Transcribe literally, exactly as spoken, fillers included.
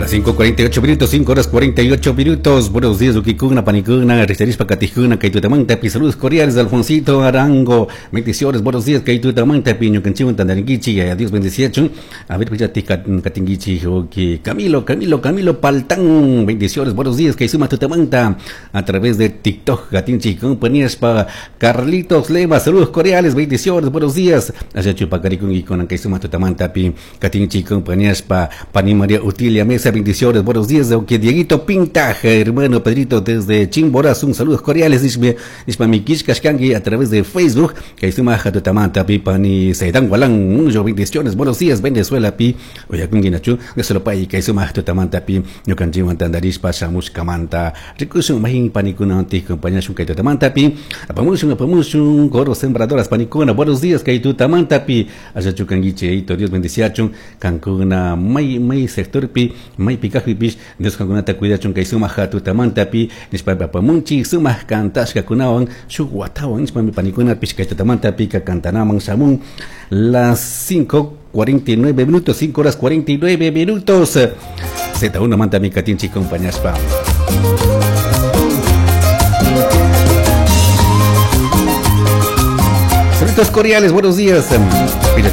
Las cinco cuarenta y ocho minutos, cinco horas cuarenta y ocho minutos. Buenos días, Ukikuna, Panikuna, Risterispa, Katijuna, Kaitutamanta, saludos cordiales de Alfonsito Arango. Bendiciones, buenos días, Kaitutamanta, Piño, Canchiwan, Tandaringuichi, adiós, bendiciachun. A ver, pues ya Katinguichi, ok. Camilo, Camilo, Camilo Paltán. Bendiciones, buenos días, Kaisuma Tutamanta, a través de TikTok, Katinchi, compañías pa Carlitos Lema, saludos cordiales, bendiciones, buenos días. Allá Chupacaricun y con Kaisuma Tutamanta, Pi, Katinchi, compañías pa Pani María Utilia Mesa, bendiciones, buenos días, aunque Dieguito Pinta, hermano Pedrito desde Chimborazo, un saludos cordiales, Ishme, Ishma Mikish Kashkangi a través de Facebook, Kaisuma Tutamanta, Pi, Pani Seidan Gualán, mucho bendiciones, buenos días, Venezuela, Pi, Oyakunguinachu, Gasolopai, Kaisuma Tutamanta, Pi, Ñukanchiwan Tandarishpa, Shamush Kamanta, Rikushun, Mahin Panikuna, Anti, compañía Kaitutamanta, Pi, Apamushun, Apamushun, Coro Sembradoras Panikuna, buenos días, Kaitutamanta, Pi, Ayachukanguiche, Eito, Dios bendiciachun, Cancuna, May, May sector Pi, May Pikajipish, Dios Cancunata cuidachun, Kaisuma Hatutamanta, Pi, Nishpa Papamunchi, Suma Kantashka Kunawan, Shuguatawan, Nishpa Panikuna, Pish Kaitutamanta, Pi, Kantanaman, Shamun, las cinco cuarenta y nueve minutos, cinco horas cuarenta y nueve minutos. Z uno manta mi katinchi compañaspa. Saludos cordiales, buenos días. Mira,